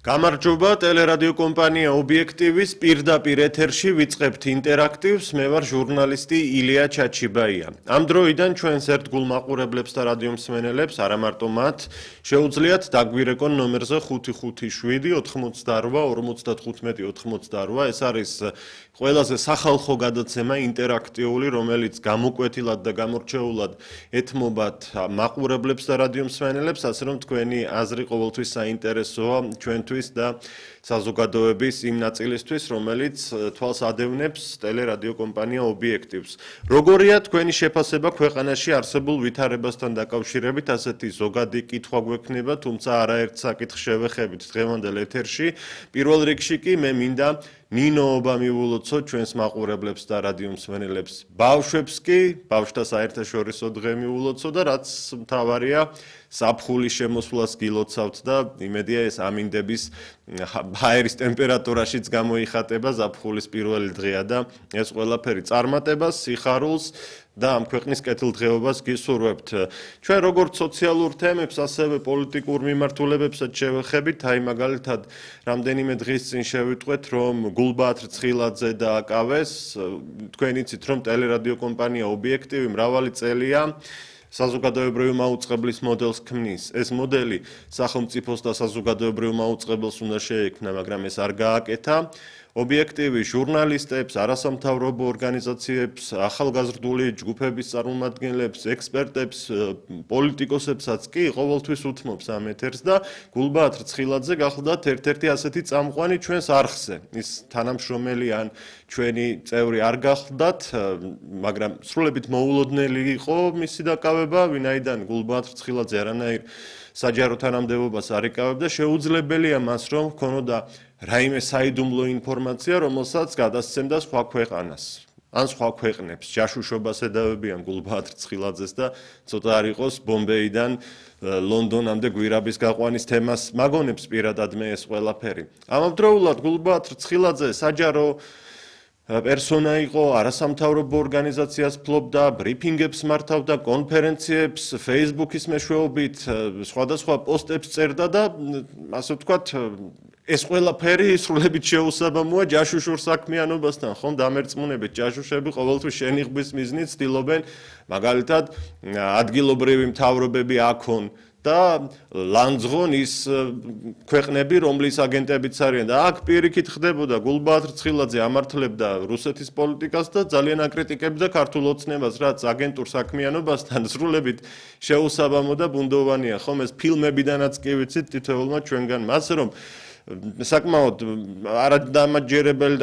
გამარჯობა, ტელერადიო კომპანია ობიექტივის პირდაპირ ეთერში ვიწყებთ ინტერაქტივს, მე ვარ ჟურნალისტი ილია ჩაჩიბაია. Ამ დროიდან ჩვენს ერთგულ მაყურებლებს და რადიო მსმენელებს, არა მარტო მათ, შეუძლიათ დაგვირეკონ ნომერზე 557 88 55 88. ეს არის ყველაზე სახალხო გადაცემა ინტერაქტიული, რომელიც გამოკვეთილად და გამორჩეულად ეთმობათ მაყურებლებს და რადიო მსმენელებს, ასე რომ თქვენი აზრი ყოველთვის საინტერესოა ჩვენთვის და საზოგადოების იმ ნაწილისთვის, რომელიც თვალს ადევნებს ტელერადიო კომპანია ობიექტივს. Როგორია თქვენი შეფასება ქვეყანაში არსებულ ვითარებასთან დაკავშირებით, ასეთი ზოგადი კითხვა გვექნება, თუმცა არაერთ საკითხს შევეხებით დღევანდელ ეთერში. პირველ რიგში კი მე მინდა ნინოობა მივულოცო ჩვენს მაყურებლებს და რადიო მსმენელებს. ბავშვებს კი, ბავშვთა საერთაშორისო დღე მივულოცო და რაც მთავარია, საფხულის შემოსვლას გილოცავთ და იმედია ეს ამინდების ჰაერის ტემპერატურაშიც გამოიხატება ზაფხულის პირველი დღეა და ეს ყველაფერი წარმატებას, სიხარულს და ამ ქვეყნის კეთილდღეობას გისურვებთ. ჩვენ როგორც სოციალურ თემებს, ასევე პოლიტიკურ მიმართულებებსაც შევეხებით, აი მაგალითად, რამდენიმე დღის წინ შევიტყვეთ, რომ გულბაათ რცხილაძე დააკავეს, თქვენ იცით, რომ ტელერადიო კომპანია ობიექტივი მრავალი წელია საზოგადოებრივი მაუწყებლის მოდელს ქმნის. ეს მოდელი სახელმწიფოს და საზოგადოებრივ მაუწყებელს უნდა შეექმნა, მაგრამ ეს არ გააკეთა. ობიექტივი ჟურნალისტებს, არასამთავრობო ორგანიზაციებს, ახალგაზრდული ჯგუფების წარმომადგენლებს, ექსპერტებს, პოლიტიკოსებსაც კი ყოველთვის უთმობს ამ ეთერს და გულბაათ რცხილაძე გახლდათ ერთ-ერთი ასეთი წამყვანი ჩვენს არხზე. ის თანამშრომელი ან ჩვენი წევრი არ გახლდათ, მაგრამ სრულებით მოულოდნელი იყო მისი დაკავება, ვინაიდან გულბაათ რცხილაძე არანაირ საჯარო თანამდებობას არ იკავებდა, შეუძლებელია მას რომ ჰქონოდა რაიმე საიდუმლო ინფორმაცია, რომელსაც გადასცემდა სხვა ქვეყანას. ან სხვა ქვეყნებს, ჯაშუშობას ედავებიან გულბაათ რცხილაძეს და ცოტა არ იყოს ბომბეიდან ლონდონამდე გვირაბის გაყვანის თემას მაგონებს პირადად მე ეს ყველაფერი. ამავდროულად გულბაათ რცხილაძე საჯარო პერსონა იყო, არასამთავრობო ორგანიზაციას ფლობდა, ბრიფინგებს მართავდა, კონფერენციებს, Facebook-ის მეშვეობით, სხვადასხვა პოსტებს წერდა და ასე ვთქვათ, ეს ყველაფერი სრულებით შეუსაბამოა ჯაშუშურ საქმიანობასთან, ხომ დამერწმუნებით, ჯაშუშები ყოველთვის შენიღბის მიზნით ცდილობენ, მაგალითად, ადგილობრივი მთავრობები აქონ და ლანძღონ ის ქვეყნები, რომლის აგენტებიც არიან და აქ პირიქით ხდებოდა გულბაათ რცხილაძე ამართლებდა რუსეთის პოლიტიკას და ძალიან აკრიტიკებდა ქართულ ოცნებას, რაც აგენტურ საქმიანობასთან სრულებით შეუსაბამო და ბუნდოვანია, ხომ ეს ფილმებიდანაც კი ვიცით თითოეულმა ჩვენგანმა, ასე რომ საკმაოდ არადამაჯერებელი